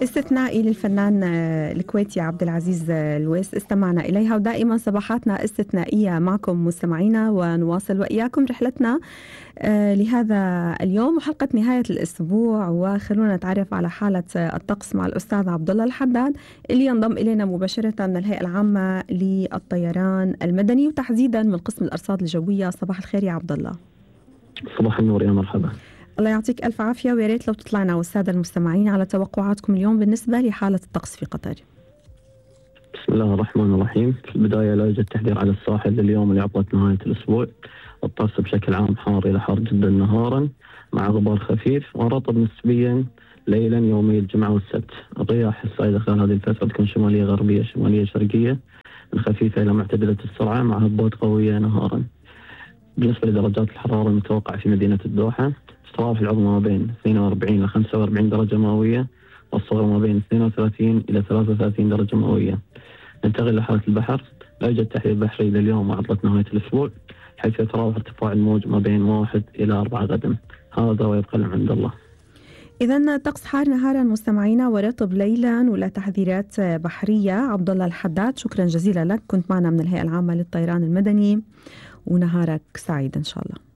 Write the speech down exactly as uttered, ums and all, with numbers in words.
استثنائي للفنان الكويتي عبد العزيز الويس استمعنا إليها، ودائما صباحاتنا استثنائية معكم مستمعينا، ونواصل وإياكم رحلتنا لهذا اليوم وحلقة نهاية الأسبوع. وخلونا نتعرف على حالة الطقس مع الأستاذ عبد الله الحداد اللي ينضم إلينا مباشرة من الهيئة العامة للطيران المدني وتحديدا من قسم الأرصاد الجوية. صباح الخير يا عبد الله. صباح النور، يا مرحبا. الله يعطيك ألف عافية، ويا ريت لو تطلعنا والسادة المستمعين على توقعاتكم اليوم بالنسبة لحالة الطقس في قطر. بسم الله الرحمن الرحيم. في البداية لا يوجد تحذير على الساحل لليوم اللي عطلت نهاية الأسبوع. الطقس بشكل عام حار إلى حار جدا نهارا مع غبار خفيف ورطب نسبيا ليلا يومي الجمعة والسبت. الرياح السائدة خلال هذه الفترة تكون شمالية غربية شمالية شرقية من خفيفة إلى معتدلة السرعة مع هبوط قوية نهارا. بالنسبة لدرجات الحرارة المتوقعة في مدينة الدوحة، تتراوح العظمى ما بين اثنين وأربعين إلى خمسة وأربعين درجة مئوية والصغرى ما بين اثنين وثلاثين إلى ثلاثة وثلاثين درجة مئوية. ننتقل لحالة البحر. لا يوجد تحذير بحري لليوم وعطلة نهاية الأسبوع، حيث يتراوح ارتفاع الموج ما بين واحد إلى أربعة غدا. هذا ويبقى العلم عند الله. إذا طقس حار نهارا مستمعينا ورطب ليلا ولا تحذيرات بحرية. عبد الله الحداد، شكرا جزيلا لك، كنت معنا من الهيئة العامة للطيران المدني، ونهارك سعيد إن شاء الله.